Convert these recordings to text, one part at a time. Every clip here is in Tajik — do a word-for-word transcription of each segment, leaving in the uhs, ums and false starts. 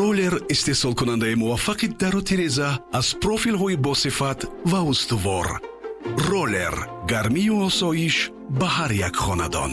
Роллер истеҳсолкунандаи муваффақи дару тиреза аз профилҳои босифат ва устувор. Роллер гармию осоиш ба ҳар як хонадон.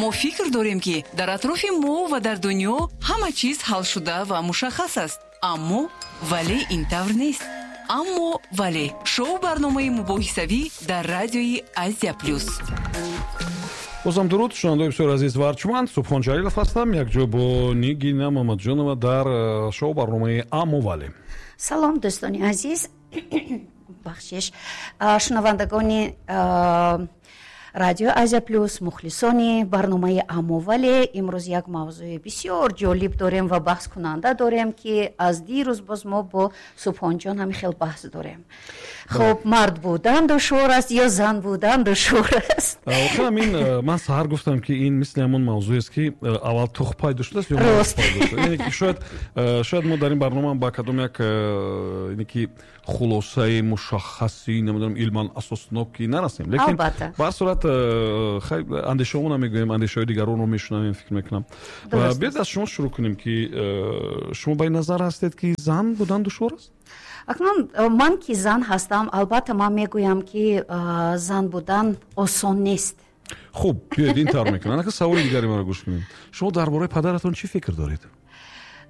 Мо фикр дорем, ки дар атрофи мо ва дар дунё ҳама чиз ҳалшуда ва мушаххас аст, аммо вале ин тавр нест. Аммо вале шоу барномаи мубоҳисавӣ дар радиои Азия Плюс. Бозам дуруд, шунавандаои бисёр азиз ва арҷманд. Субҳон Ҷалилов ҳастам, якҷо бо Нигина Мамаджонова дар э, шоу барномаи «Аммо вале». Салом, дӯстони азиз, бахшиш, шунавандагони Радио Азия Плюс, мухлисони барномаи «Аммо вале». Имрӯз як мавзӯи бисёр ҷолиб дорем ва баҳскунанда дорем, ки аз дирӯз боз мо бо Субҳонҷон ҳамин хел баҳс дорем. Хуб, мард будан душвор аст ё зан будан душвор аст? Воқеан, ин ман саҳар гуфтам, ки ин мисли ҳамон мавзӯест, ки аввал тухм пайдо шудааст ё рост. Яъне ки шояд шояд мо дар ин барнома ба кадом як, яъне ки, хулосаи мушаххаси, намедонам, илман асосноки нарасем, лекин ба ҳар сурат, хай, андешаҳомонро мегӯем, андешаҳои дигаронро мешунавем, фикр мекунам. Биёед, аз шумо шурӯъ кунем, ки шумо ба ин назар ҳастед, ки зан будан душвор аст? Акнун ман ки зан ҳастам, албатта ман мегӯям, ки зан будан осон нест. Хуб, биёед, ин тавр мекунам. Анака саволи дигари маро гӯш кунед: шумо дар бораи падаратон чӣ фикр доред?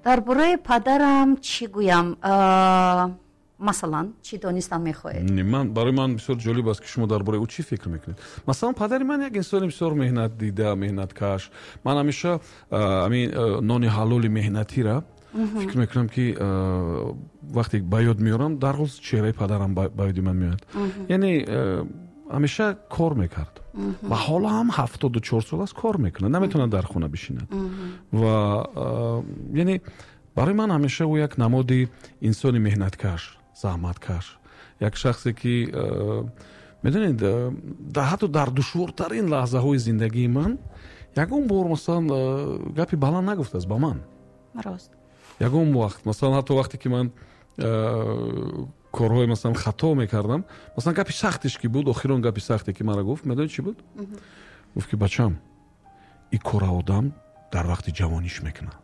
Дар бораи падарам чӣ гӯям? Масалан, чӣ донистан мехоҳед? Ман, барои ман бисёр ҷолиб аст, ки шумо дар бораи ӯ чӣ фикр мекунед. Масалан, падари ман як инсони бисёр меҳнатдида, меҳнаткаш. Ман ҳамеша ҳамин нони ҳалоли меҳнатира фикр мекунам, ки вақте ба ёд меорам, дарҳол чеҳраи падарам ба ёди ман меояд. Яъне ҳамеша кор мекард ва ҳоло ҳам ҳафтоду чор сол аст, кор мекунад, наметавонад дар хона бишинад. Ва яъне барои ман ҳамеша ӯ як намоди инсони меҳнаткаш, заҳматкаш, як шахсе, ки, медонед, ҳатто дар душвортарин лаҳзаҳои зиндагии ман ягон бор, масалан, гапи баланд нагуфтааст ба ман. Рост. Ягон вақт, масалан, ҳатто вақте ки ман корҳои, масалан, хато мекардам, масалан, гапи сахтиш ки буд, охирон гапи сахте ки мара гуфт, медонед, чӣ буд? Гуфт, ки бачам, и кора одам дар вақти ҷавониш мекунад,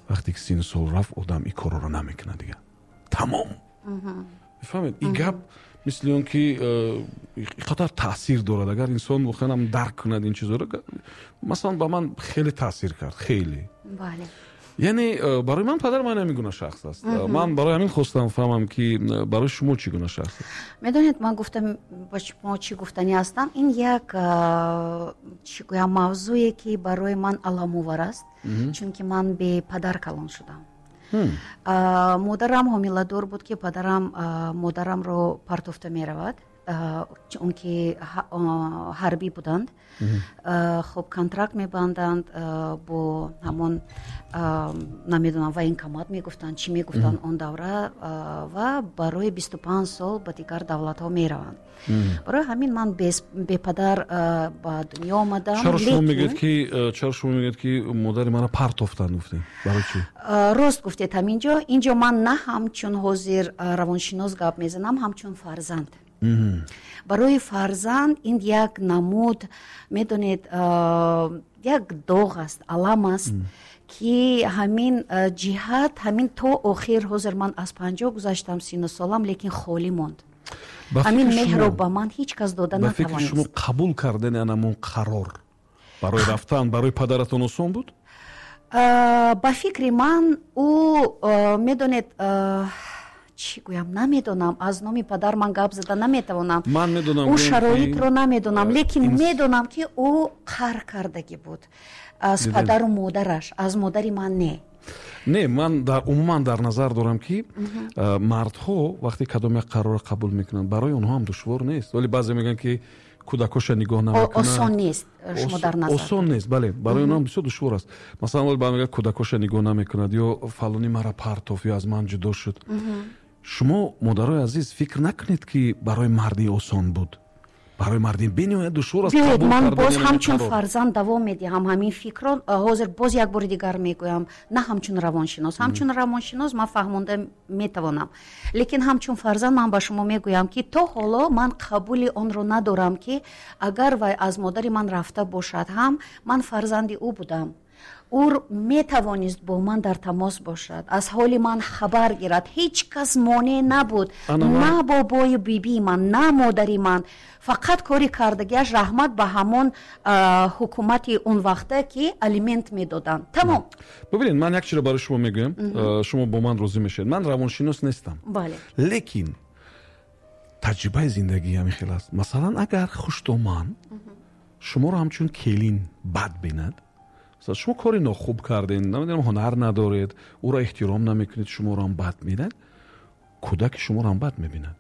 вақте ки сину сол рафт, одам и корро намекунад дигар, тамом. Мефаҳмед, ин гап мисли он ки қадар таъсир дорад, агар инсон воқеан ҳам дарк кунад ин чизҳоро. Масалан, ба ман хеле таъсир кард, хеле. Бале. Яъне барои ман падар ман ҳамин гуна шахс аст. Ман барои ҳамин хостам фаҳмам, ки барои шумо чӣ гуна шахс аст. Медонед, ман гуфтам, ба шумо чӣ гуфтанӣ ҳастам. Ин як, чӣ гӯям, мавзӯе, ки барои ман аламовар аст, чунки ман бепадар калон шудам. Модарам ҳомиладор буд, ки падарам модарамро партофта меравад, чунки ҳарбӣ буданд. Хуб, контракт мебанданд бо ҳамон, намедонам, военкомат мегуфтанд, чӣ мегуфтанд он давра, ва барои бисту панҷ сол ба дигар давлатҳо мераванд. Барои ҳамин ман бепадар ба дунё омадам. Чаро шумо мегӯед ки чаро шумо мегӯед ки модари маро партофтанд, гуфтед? Барои чӣ? Рост гуфтед. Ҳаминҷо инҷо ман на ҳамчун ҳозир равоншинос гап мезанам, ҳамчун фарзанд. Барои фарзанд ин як намуд, медонед, як доғ аст, алам аст, ки ҳамин ҷиҳат, ҳамин то охир. Ҳозир ман аз панҷоҳ гузаштам сину солам, лекин холӣ монд. Ҳамин меҳрро ба ман ҳеҷ кас дода натавонист. Ба фикри шумо, қабул кардани анамон қарор барои рафтан барои падаратон осон буд? Ба фикри ман, ӯ, медонед, чӣ гӯям, намедонам, аз номи падар ман гап зада наметавонам. Ман медонам. Ӯ шароитро намедонам, лекин медонам, ки ӯ қаҳр кардагӣ буд аз падару модараш, аз модари ман не. Не, ман дар умуман дар назар дорам, ки мардҳо вақте кадом як қарорро қабул мекунанд, барои онҳо ҳам душвор нест. Вале баъзе мегӯянд, ки кӯдакоша нигоҳ намекунанд. Осон нест, шумо дар назар. Осон нест, бале, барои онҳо бисёр душвор аст. Масалан, вале мегӯяд, кӯдакоша нигоҳ намекунад, ё фалонӣ мара партофт, ё аз ман ҷудо шуд. Шумо, модарои азиз, фикр накунед, ки барои марди осон буд. Барои марди бениҳоят душвор аст. Биёед, ман боз ҳамчун фарзанд давом медиҳам ҳамин фикрро. Ҳозир боз як бори дигар мегӯям, на ҳамчун равоншинос. Ҳамчун равоншинос ман фаҳмонда метавонам, лекин ҳамчун фарзанд ман ба шумо мегӯям, ки то ҳоло ман қабули онро надорам, ки агар вай аз модари ман рафта бошад ҳам, ман фарзанди ӯ будам. Ӯ метавонист бо ман дар тамос бошад, аз ҳоли ман хабар гирад. Ҳеҷ кас монеъ набуд, на бобою бибии ман, на модари ман. Фақат кори кардагиаш раҳмат ба ҳамон ҳукумати он вақта, ки алимент медоданд. Тамом. Бубинед, ман як чиро барои шумо мегӯям, шумо бо ман розӣ мешавед. Ман равоншинос нестам, лекин таҷрибаи зиндагӣ ҳамин хел аст. Масалан, агар хуштоман шуморо ҳамчун келин бад бинад, шумо кори нохуб кардед, намедонам, ҳунар надоред, ӯро эҳтиром намекунед, шуморо ҳам бад мебинад, кӯдаки шуморо ҳам бад мебинад.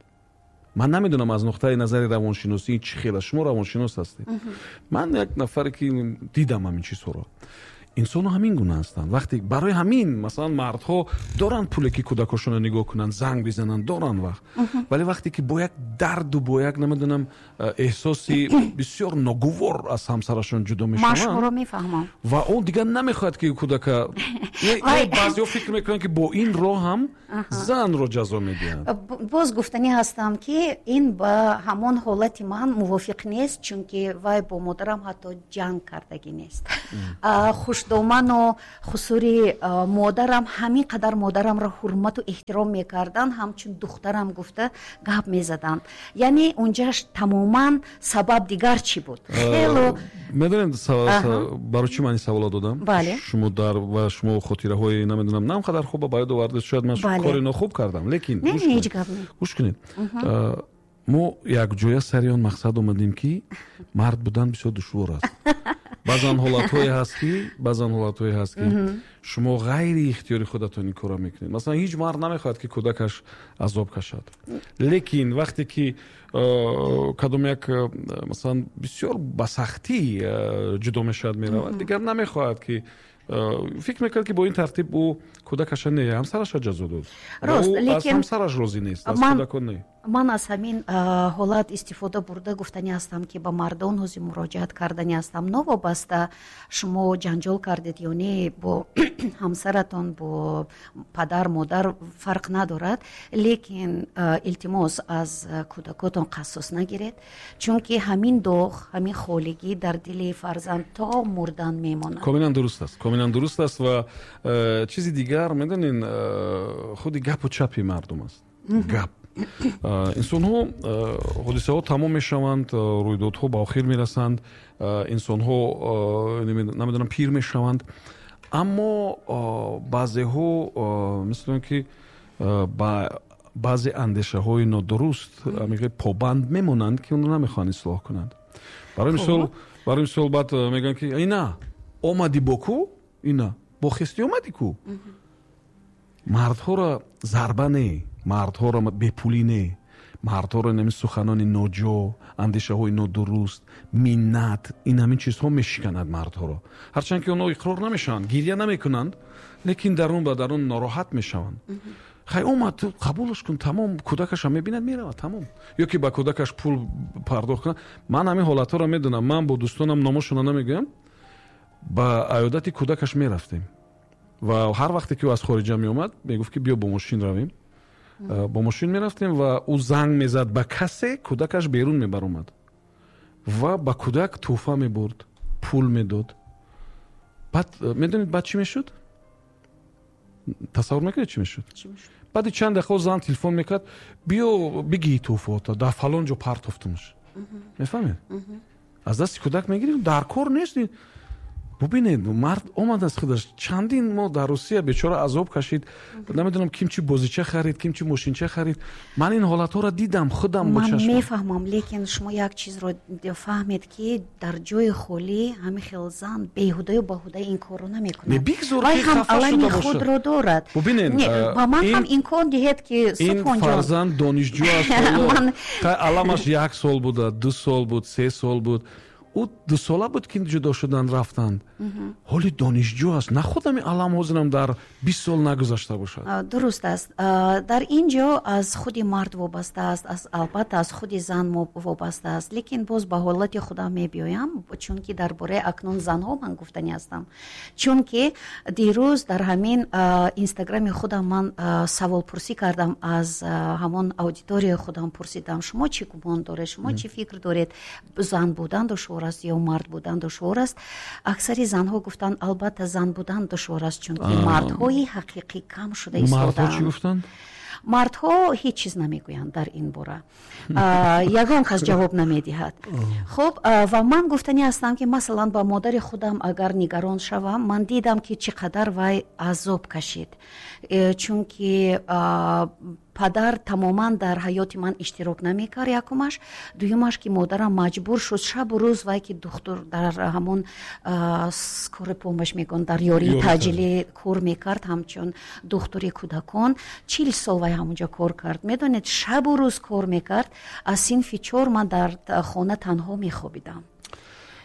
Ман намедонам аз нуқтаи назари равоншиносӣ чӣ хел аст, шумо равоншинос ҳастед. Ман як нафаре ки дидам ҳамин чизҳоро. Инсонҳо ҳамин гуна ҳастанд. Вақте барои ҳамин масалан мардҳо доранд пуле ки кӯдакошонро нигоҳ кунанд, занг бизананд, доранд вақт. Вале вақте ки бо як дарду бо як намедонам эҳсоси бисёр ногувор аз ҳамсарашон ҷудо мешаванд, ман шуморо мефаҳмам, ва он дигар намехоҳад ки кӯдака. Баъзеҳо фикр мекунанд ки бо ин роҳ ҳам занро ҷазо медиҳанд. Боз гуфтанӣ ҳастам, ки ин ба ҳамон ҳолати ман мувофиқ нест, чунки вай бо модарам ҳатто ҷанг кардагӣ нест. Хушдоману хусури модарам ҳамин қадар модарамро ҳурмату эҳтиром мекарданд, ҳамчун духтарам гуфта гап мезаданд. Яъне унҷаш тамоман сабаб дигар чӣ буд? Хело медонед барои чӣ ман ин саволо додам? Шумо дар ва шумо хотираҳои намедонам на он қадар хуб ба ёд овардед, шояд ман кори нохуб кардам, лекин гӯш кунед, мо якҷоя сари он мақсад омадем, ки мард будан бисёр душвор аст. Баъзан ҳолатҳое ҳаст ки баъзан ҳолатҳое ҳаст ки шумо ғайри ихтиёри худатон ин корро мекунед. Масалан, ҳеҷ мард намехоҳад ки кӯдакаш азоб кашад, лекин вақте ки кадом як масалан бисёр ба сахтӣ ҷудо мешавад, меравад, дигар намехоҳад ки фикр мекард ки бо ин тартиб ӯ кӯдакаша не, ҳамсараша ҷазо дод. Рост, лекин аз ҳамсараш розӣ нест, аз кӯдакон не. Ман аз ҳамин ҳолат истифода бурда гуфтанӣ ҳастам, ки ба мардон ҳозир муроҷиат карданӣ ҳастам. Новобаста шумо ҷанҷол кардед ё не бо ҳамсаратон, бо падар, модар, фарқ надорад, лекин илтимос аз кӯдакотон қассос нагиред, чунки ҳамин доғ, ҳамин холигӣ дар дили фарзанд то мурдан мемонад. Комилан дуруст аст, комилан дуруст аст. Ва чизи дигар, медонед, худи гапу чапи мардум аст. Гап инсонҳо, ҳодисаҳо тамом мешаванд, рӯйдодҳо ба охир мерасанд, инсонҳо намедонам пир мешаванд, аммо баъзеҳо мисли он ки ба баъзе андешаҳои нодуруст побанд мемонанд, ки онро намехоҳанд ислоҳ кунанд. Барои мисол, барои мисол баъд мегӯянд ки ина омадӣ бо ку, ина бо хестӣ омадӣ ку. Мардҳоро зарба не, мардҳоро бепулӣ не, мардҳоро ҳамин суханони ноҷо, андешаҳои нодуруст, миннат, ин ҳамин чизҳо мешиканад мардҳоро. Ҳарчанд ки онҳо иқрор намешаванд, гиря намекунанд, лекин дарун ба дарун нороҳат мешаванд. Хай омад, ту қабулаш кун, тамом, кӯдакаша мебинад, меравад, тамом. Ё ки ба кӯдакаш пул пардохт кунад. Ман ҳамин ҳолатҳоро медонам. Ман бо дӯстонам номошона намегӯям, ба аёдати кӯдакаш мерафтем ва ҳар вақте ки ӯ аз хориҷа меомад, мегуфт ки биё бо мошин равем. Бо мошин мерафтем ва ӯ занг мезад ба касе, кӯдакаш берун мебаромад ва ба кӯдак тӯҳфа мебурд, пул медод. Баъд медонед баъд чӣ мешуд? Тасаввур мекунед чӣ мешуд? Баъди чанд дақиқа зан телефон мекард, биё бигӣ тӯҳфаота, дар фалон ҷо партофтумаш. Мефаҳмед? Аз дасти кӯдак мегирем, дар кор нест. Бубинед, мард омад аз худаш. Чандин моҳ дар Русия бечора азоб кашид. Намедонам ким чӣ бозича харид, ким чӣ мошинча харид. Ман ин ҳолатҳоро дидам худам бо чашм. Ман мефаҳмам, лекин шумо як чизро фаҳмед, ки дар ҷои холӣ ҳамин хел зан беҳудаю баҳуда ин корро намекунад. Не, бигзор вай ки ҳам хафа шуда алами бошад. худро дорад. Бубинед, Не, ба ман ин ҳам имкон диҳед, ки ин Субҳонҷон. фарзанд донишҷӯ аст. Ман Аламаш як сол буда, ду сол буд, се сол буд. Ӯ дусола буд ки ҷудо шудан рафтанд. Ҳоли донишҷӯ аст. На худами алам ҳозирам дар бист сол нагузашта бошад. Дуруст аст. Дар ин ҷо аз худи мард вобаста аст, аз албатта аз худи зан вобаста аст, лекин боз ба ҳолати худам мебиёям, чунки дар бораи акнун занҳо ман гуфтанӣ ҳастам. Чунки дирӯз дар ҳамин инстаграми худам ман саволпурсӣ кардам, аз ҳамон аудиторияи худам пурсидам, шумо чӣ гумон доред, шумо чӣ фикр доред, зан будан душвор аст ё мард будан душвор аст, аксари занҳо гуфтанд, албатта зан будан душвор аст, чунки мардҳои ҳақиқӣ кам шуда истодаанд. Мардҳо чӣ гуфтанд? Мардҳо ҳеҷ чиз намегӯянд дар ин бора, ягон кас ҷавоб намедиҳад. Хуб, ва ман гуфтанӣ ҳастам, ки масалан ба модари худам агар нигарон шавам, ман дидам, ки чӣ қадар вай азоб кашид, чунки падар тамоман дар ҳаёти ман иштирок намекард, якумаш. Дуюмаш, ки модарам маҷбур шуд шабу рӯз, вай ки духтур дар ҳамон скорая помощь мегӯянд, дар ёрии таъҷилӣ кор мекард, ҳамчун духтури кӯдакон. Чил сол вай ҳамонҷо кор кард. Медонед, шабу рӯз кор мекард. Аз синфи чор ман дар хона танҳо мехобидам.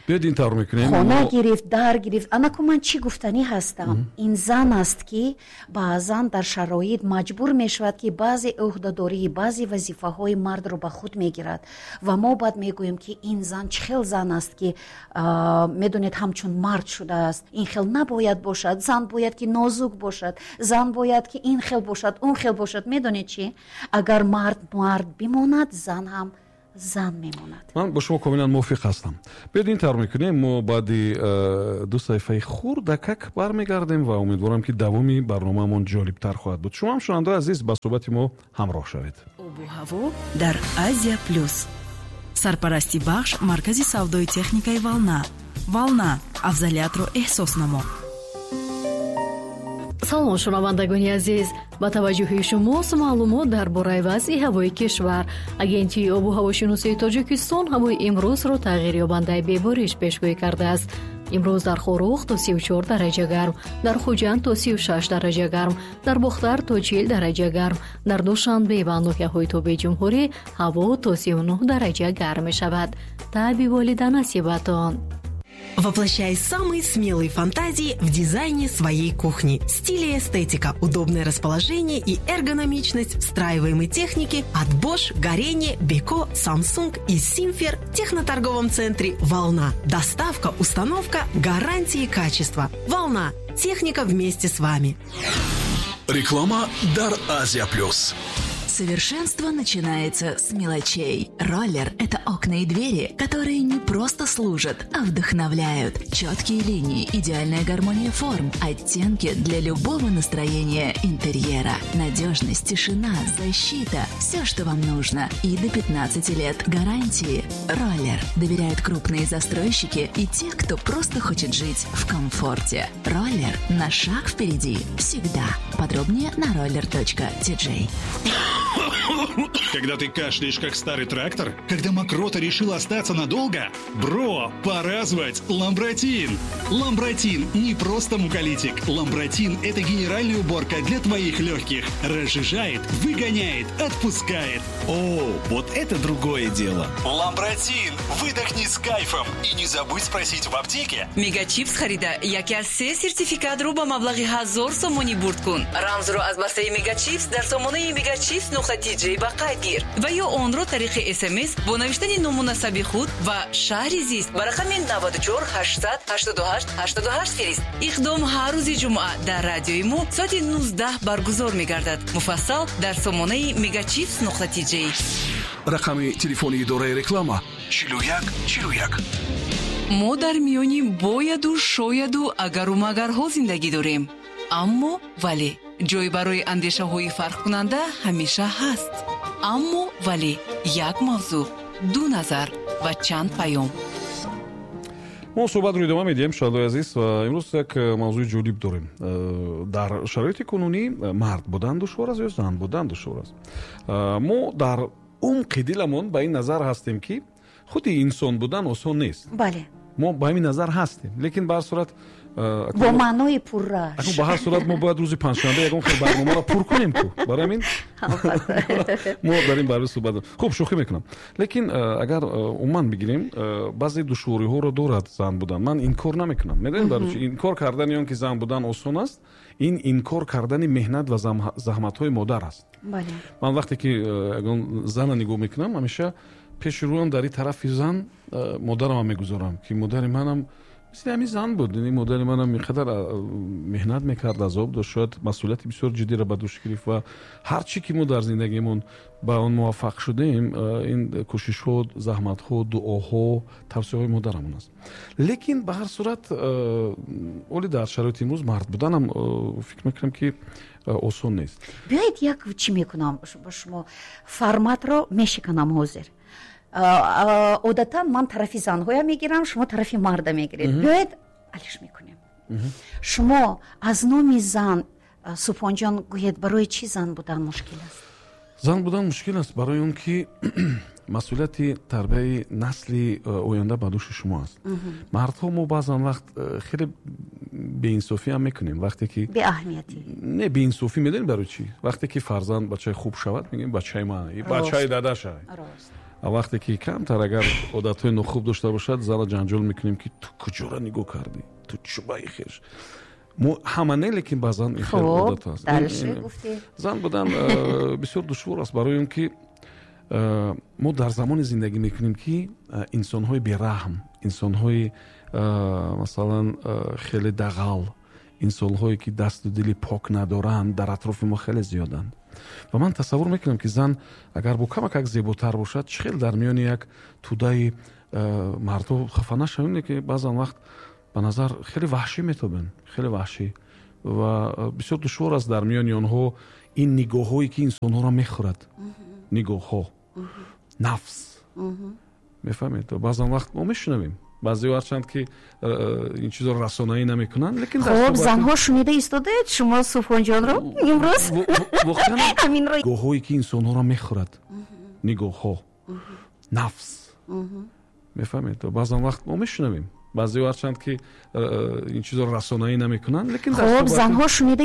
Биёед ин тавр мекунем. Хона гирифт, дар гирифт. Анаку ман чӣ гуфтанӣ ҳастам? Ин зан аст, ки баъзан дар шароит маҷбур мешавад, ки баъзе ӯҳдадории, баъзе вазифаҳои мардро ба худ мегирад. Ва мо баъд мегӯем, ки ин зан чӣ хел зан аст, ки медонед, ҳамчун мард шудааст. Ин хел набояд бошад. Зан бояд ки нозук бошад. Зан бояд ки ин хел бошад, он хел бошад. Медонед чӣ? Агар мард мард бимонад, зан ҳам зан мемонад. Ман бо шумо комилан мувофиқ ҳастам. Биёед ин тавр мекунем, мо баъди ду саҳифаи хурдакак бармегардем ва умедворам, ки давоми барномаамон ҷолибтар хоҳад буд. Шумо ҳам, шунавандаои азиз, ба суҳбати мо ҳамроҳ шавед. Обу ҳаво дар Азия Плюс. Сарпарасти бахш маркази савдои техникаи Волна. Волна афзалиятро эҳсос намо. Салом, шунавандагони азиз, ба таваҷҷӯҳи шумост маълумот дар бораи вазъи ҳавои кишвар. Агентии обу ҳавошиносии Тоҷикистон ҳавои имрӯзро тағйирёбандаи бебориш пешгӯӣ кардааст. Имрӯз дар Хоруғ то сию чор дараҷа гарм, дар Хуҷанд то сию шаш дараҷа гарм, дар Бохтар то чил дараҷа гарм, дар Душанбе ва ноҳияҳои тобеи ҷумҳурӣ ҳаво то сию нӯҳ дараҷа гарм мешавад. Таъби волида насибатон. Воплощай самые смелые фантазии в дизайне своей кухни. Стиль и эстетика, удобное расположение и эргономичность встраиваемой техники от Bosch, Gorenje, Beko, Samsung и Simfer в техноторговом центре «Волна». Доставка, установка, гарантии качества. «Волна». Техника вместе с вами. Реклама «Дар Азия Плюс». Совершенство начинается с мелочей. Роллер – это окна и двери, которые не просто служат, а вдохновляют. Четкие линии, идеальная гармония форм, оттенки для любого настроения интерьера. Надежность, тишина, защита – все, что вам нужно. И до пятнадцати лет гарантии. Роллер доверяют крупные застройщики и те, кто просто хочет жить в комфорте. Роллер на шаг впереди всегда. Подробнее на роллер точка ти джей. Когда ты кашляешь, как старый трактор? Когда мокрота решила остаться надолго? Бро, пора звать Ламбратин! Ламбратин не просто муколитик. Ламбратин – это генеральная уборка для твоих легких. Разжижает, выгоняет, отпускает. О, вот это другое дело. Ламбратин! Выдохни с кайфом. И не забудь спросить в аптеке. Мегачипс харида яке аз се сертификат рӯ ба маблағи ҳазор сомонӣ бурд кун. Рамзро аз бастаи Мегачипс дар сомонаи мегачипс нуқта ти джей ба қайд гир ва ё онро тариқи СМС бо навиштани ному насаби худ ва шаҳри зист ба рақами наваду чор ҳаштсад ҳаштоду ҳашт ҳаштоду ҳашт фирист. Иқдом ҳар рӯзи ҷумъа дар радиои мо соати нуздаҳ баргузор мегардад. Муфассал дар сомонаи мегачипс нуқта ти джей. Рақами телефони идораи реклама чилу як чилу як. Мо дар миёни бояду шояду агару магарҳо зиндагӣ дорем. Аммо вале ҷой барои андешаҳои фарқкунанда ҳамеша ҳаст. Аммо вале як мавзӯъ, ду назар ва чанд паём. Мо суҳбатро идома медиҳем, шунавандаои азиз, ва имрӯз як мавзӯи ҷолиб дорем. Дар шароити кунунӣ мард будан душвор аст ё зан будан душвор аст? Мо дар умқи диламон ба ин назар ҳастем, ки худи инсон будан осон нест. Бале. Мо ба ҳамин назар ҳастем, лекин ба ҳар сурат бо маънои пуррааш. Ба ҳар сурат мо бояд рӯзи панҷшанбе ягон хел барномаро пур кунем ку. Барои ҳамин мо дар ин бора суҳбат дорем. Хуб, шӯхӣ мекунам. Лекин агар умуман бигирем, баъзе душвориҳоро дорад зан будан. Ман инкор намекунам. Медонед барои чӣ? Инкор кардани он ки зан будан осон аст, ин инкор кардани меҳнат ва заҳматҳои модар аст. Ман вақте ки ягон зана нигоҳ мекунам, ҳамеша пеши рӯям дар ин тарафи зан модарамро мегузорам, ки модари манам Мисли ҳамин зан буд. Ин модари манам инқадар меҳнат мекард, азоб дошт, шояд масъулияти бисёр ҷиддиро ба дӯш гирифт ва ҳар чӣ ки мо дар зиндагимон ба он муваффақ шудем, ин кӯшишҳо, заҳматҳо, дуоҳо, тавсияҳои модарамон аст. Лекин ба ҳар сурат оли дар шароити имрӯз мард буданам фикр мекунам, ки осон нест. Биёед, як чӣ мекунам ба шумо, форматро мешиканам ҳозир. Одатан ман тарафи занҳоя мегирам, шумо тарафи марда мегиред. Биёед, алиш мекунем. Шумо аз номи зан, Субҳонҷон, гӯед, барои чӣ зан будан мушкил аст? Зан будан мушкил аст барои он ки масъулияти тарбияи насли оянда ба дӯши шумо аст. Мардҳо мо баъзан вақт хеле беинсофӣ ҳам мекунем, вақте ки беаҳамиятӣ. Не, беинсофӣ медонем барои чӣ? Вақте ки фарзанд бачаи хуб шавад, мегӯем бачаи ман, бачаи дадаша. Вақте ки камтар агар одатҳои нохуб дошта бошад, зала ҷанҷол мекунем, ки ту куҷора нигоҳ кардӣ, ту чӯбаи хеш. Мо ҳама не, лекин баъзан ин хел одат аст. Зан будан бисёр душвор аст барои он ки мо дар замоне зиндагӣ мекунем, ки инсонҳои бераҳм, инсонҳои масалан хеле дағал, инсонҳое ки дасту дили пок надоранд, дар атрофи мо хеле зиёданд. Ва ман тасаввур мекунам, ки зан агар бо камак зеботар бошад, чӣ хел дар миёни як тӯдаи мардҳо хафа нашавем, ки баъзан вақт ба назар хеле ваҳшӣ метобанд, хеле ваҳшӣ, ва бисёр душвор аст дар миёни онҳо ин нигоҳҳое ки инсонҳоро мехӯрад, нигоҳҳо, нафс, мефаҳмед? Баъзан вақт мо мешунавем, баъзеҳо ҳарчанд ки ин чизро расонаӣ намекунанд, лекин хуб, занҳо шунида истодаед шумо Субҳонҷонро имрӯз? Воқеан нигоҳҳое ки инсонҳоро мехӯрад, нигоҳҳо, нафс, мефаҳмед? Баъзан вақт мо мешунавем, баъзеҳо ҳарчанд ки ин чизро расонаӣ намекунанд, лекин хуб, занҳо шунида